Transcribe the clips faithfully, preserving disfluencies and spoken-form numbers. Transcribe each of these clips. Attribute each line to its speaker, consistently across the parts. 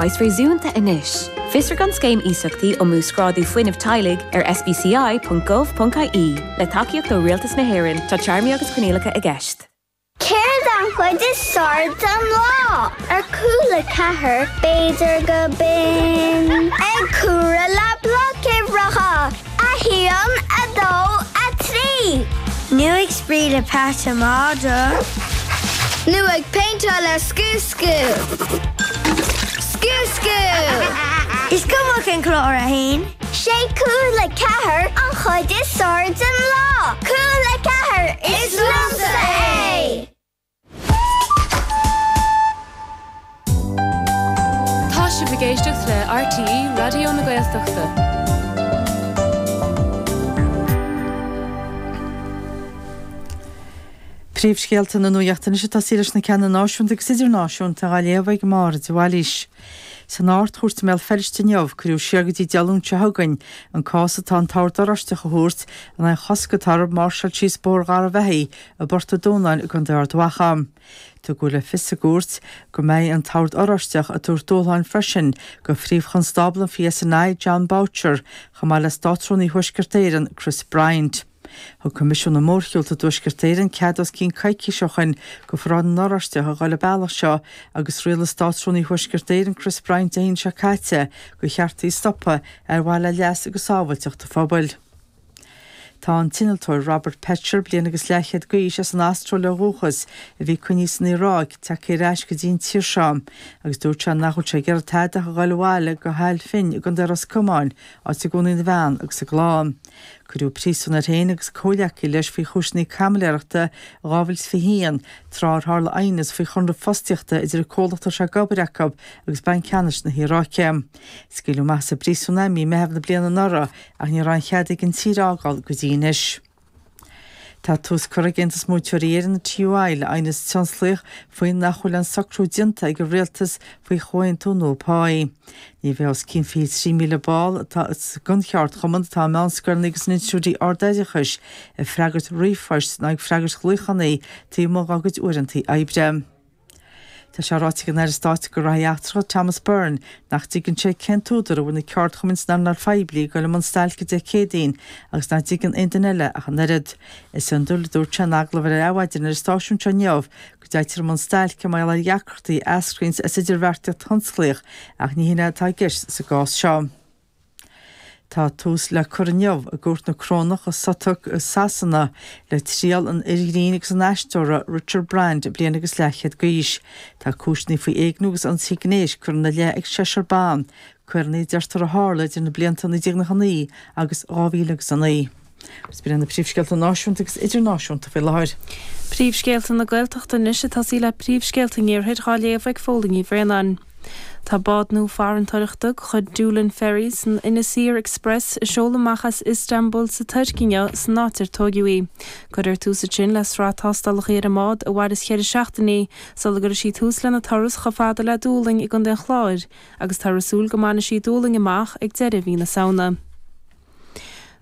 Speaker 1: Praghas réasúnta anois. Fiosraigh an scéim iasachtaí um uasghrádú fuinnimh teaghlaigh ar sbci.gov.ie le tacaíocht ó Rialtas na hÉireann tá téarmaí agus coinníollacha i gceist.
Speaker 2: Céard an chuid is fearr den lá ar cúl a ceathair b'fhéidir go binn ag comhaireamh le blocuimhreacha a haon a dó a trí.
Speaker 3: Nó ag spraoi le peata madra.
Speaker 2: Nó ag péinteáil le Scú Scú. Scú Scú!
Speaker 3: Is cuma cén clár a haon.
Speaker 2: Sé cúl a ceathair an chuid is fearr den lá. Cúl a ceathair is liomsa é!
Speaker 4: Tá sibh ag éisteacht le RTÉ Raidió na Gaeltachta.
Speaker 5: Príomhscéalta na nuachta anois ag tosaí leis na ceanna náisiúnta agus idirnáisiúnta á léamh ag Máire de Bhailís. San Ard-Chúirt i mBéal Feirste inniu, cuireadh siar go dtí Dé Luain seo chugainn an cás atá an tOrd Oráisteach a thabhairt in aghaidh an chosc atá orthu máirseáil síos Bóthar Gharbhachaidh i bPort an Dúnáin i gContae Ard Mhacha. Tugadh le fios sa gcúirt go mbeidh an tOrd Oráisteach ag tabhairt dúshláin freisin do phríomh-chonstábla an PSNI, Jon Boutcher, chomh maith le Státrúnaí Thuaisceart Éireann, Chris Bryant. Thug Coimisiún na Mórshiúlta i dTuaisceart Éireann cead os cionn coicís ó shoin go Pharáid na nOráisteach a dhul an bealach seo agus rialaigh Státrúnaí Thuaisceart Éireann Chris Bryant Dé hAoine seo caite gur cheart í a stopadh ar mhaithe le leas agus sábháilteacht an phobail. Tá an t-innealtóir Robert Petcher, bliain agus leathchéad d'aois, as an Astráil ó dhúchas, a bhí coinnithe san Iaráic, tagtha ar ais go dtí an tír seo agus dúirt sé nach bhfuil sé ag iarraidh tada ach a dhul abhaile go hAill Finn i gContae Ros Comáin, áit a gcónaíonn a bhean agus a gclann. Cuireadh príosún air féin agus comhghleacaí leis faoi chúiseanna caimiléireachta i dhá mhíle is fiche a haon, tráth ar tharla aighneas faoi chonradh fostaíochta idir an comhlacht a raibh sé ag obair acu agus Banc Ceannais na hIaráice. Scaoileadh amach as an bpríosún é i mí Meitheamh na bliana anuraidh ach ní raibh aon chead aige an tír a fhágáil go dtí anois. Tá tús curtha ag Aontas Múinteoirí Éireann, an TUI, le aighneas tionsclaíoch faoi nach bhfuil aon socrú déanta ag an rialtas faoi chomhaontú nua páí. Ní bheidh os cionn fiche trí míle ball atá den cheardchumann atá i meánscoileanna agus in institiúidí ardoideachais ag freagairt ríomhphoist ná ag freagairt ghlaochanna taobh amuigh dá gcuid uaireanta oibre. Tá sé ráite ag an Aire Stáit do Ghraithí Eachtracha Thomas Byrne nach dtuigeann sé cén t-údar a bhfuil na ceardchumainn san earnáil phoiblí ag dul i mbun stailce Dé Céadaoin agus nach dtuigeann aon duine eile ach an oiread. Is iondúil, a dúirt sé in agallamh ar Adhmhaidin ar an stáisiún seo inniu, go dtéitear i mbun stailce mar gheall ar dheacrachtaí a eascraíonns as idirbheartaíocht thionsclaíoch ach ní hin é atá i gceist sa gcás seo. Tá tús le cur inniu i gCúirt na Corónach i Southwark i Sasana le triail an fhir ghrinn agus an aisteora Richard Brand, bliain agus leathchéad d'aois. Tá cúiseanna faoi éigniú agus ionsaí gnéis curtha ina leith ag seisear ban, coireanna a deirtear a tharla idir na blianta naoi déag nócha naoi agus dhá mhíle agus a naoi. Agus b'in iad na príomhscéalta náisiúnta agus idirnáisiúnta faoi láthair.
Speaker 6: Príomhscéalta na Gaeltachta anois ag tosaí le príomhscéalta an Iarthair dhá léamh ag Fódhla Ní Bhraonáin. Tá bád nua farantóireachta de chuid Doolin Ferries, an Inis Oírr Express, ag seoladh amach as Istanbul sa Tuirc inniu san áit ar tóigeadh í. Cuirfear tús ansin le sraith tástálacha ar an mbád a mhairfeas ceithre seachtainí sula gcuirfidh sí tús lena turas chomh fada le Dúlainn i gContae an Chláir agus táthar ag súil go mbainfidh sí Dúlainn amach ag deireadh mhí na Samhna.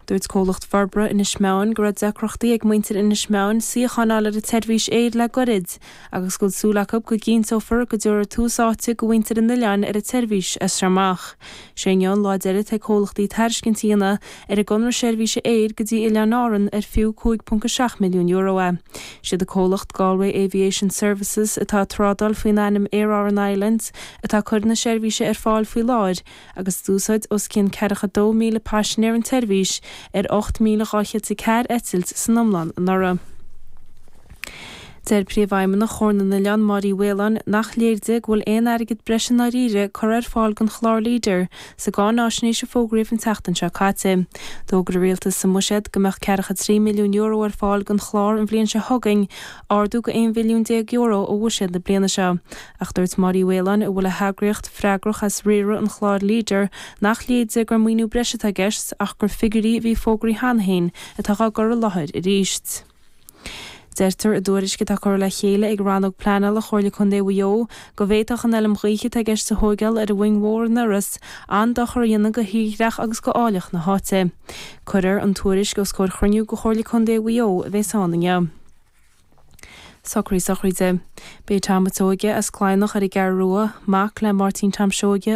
Speaker 6: Dúirt comhlacht forbartha Inis Meáin go raibh deacrachtaí ag muintir Inis Meáin suíochán a fháil ar an tseirbhís aeir le goirid agus go bhfuil súil acu go gcinnteofar go dtabharfar tús áite go mhuintir an oileáin ar an tseirbhís as seo amach. Sé inniu an lá deiridh ag comhlachtaí tairiscint a dhéanamh ar an gconradh seirbhíse aeir go dtí Oileáin Árann ar fiú cúig ponc a seacht milliún euro é. Siad an comhlacht Galway Aviation Services atá ag trádáil faoin ainm Aer Arann Islands atá ag cur na seirbhíse ar fáil faoi láthair agus d'úsáid os cionn ceathracha dó míle paisinéir an tseirbhís ar ocht míle dhá chéad is a ceathair eitilt san iomlán anuraidh. Deir Príomhfheidhmeannach Chomhar na nOileán, Máire Uí Mhaoláin, nach léir di go bhfuil aon airgead breise i ndáiríre curtha ar fáil don chlár Leader sa gcáináisnéis a fógraíodh an tseachtain seo caite. D'fhógair an Rialtas sa mBuiséad go mbeadh ceathracha trí milliún euro ar fáil don chlár an bhliain seo chugainn, ardú go aon mhilliún déag euro ó bhuiséad na bliana seo. Ach dúirt Máire Uí Mhaoláin, a bhfuil a heagraíocht freagrach as riaradh an chláir Leader, nach léir di gur maoiniú breise atá i gceist ach gur figiúirí a bhí fógraithe cheana féin atá á gcur i láthair arís. Deirtear i dtuairisc atá curtha le chéile ag Rannóg Pleanála Chomhairle Contae Mhaigh Eo go bhféadfadh an fheilm ghaoithe atá i gceist a thóigeáil ar an Mhoing Mhór in Iorras an-dochar a dhéanamh go thírdhreach agus go áilleacht na háite. Cuirfear an tuairisc os comhair chruinniú de Chomhairle Contae Mhaigh Eo a bheas ann inniu. Socraí sochraide. B'é Tom a' Seoige as Cladhnach ar an gCeathrú Rua, mac le Máirtín Tom Seoige